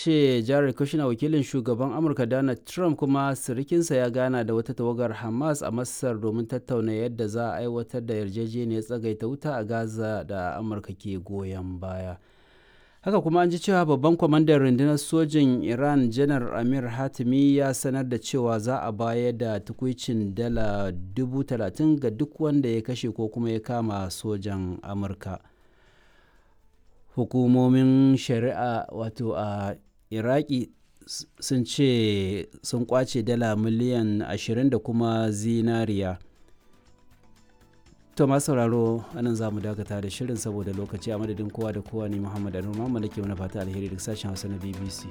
ce Jared Kushner, wakilin shugaban Amurka Donald Trump kuma sirikinsa, ya gana da wata tawagar Hamas a Masar domin tattauna yadda za a aiwatar da yarjejeniyar tsagaita wuta a Gaza da Amurka ke goyon baya. Haka kuma an ji cewa babban kwamandan rundunar sojin Iran, Janar Amir Hatimi, ya sanar da cewa za a bayar da tukwicin dala 30,000 ga duk wanda ya kashe ko kuma ya kama sojan Amurka. Hukumomin shari'a wato a Iraki sun ce sun kwace dala miliyan 20 da kuma zinariya. To masu sauraro, anan za mu dakata da shirin saboda lokaci. A madadin kowa da kowa ne, Muhammad Anur Muhammad ke wani fata alheri duk sashen Hausa na BBC.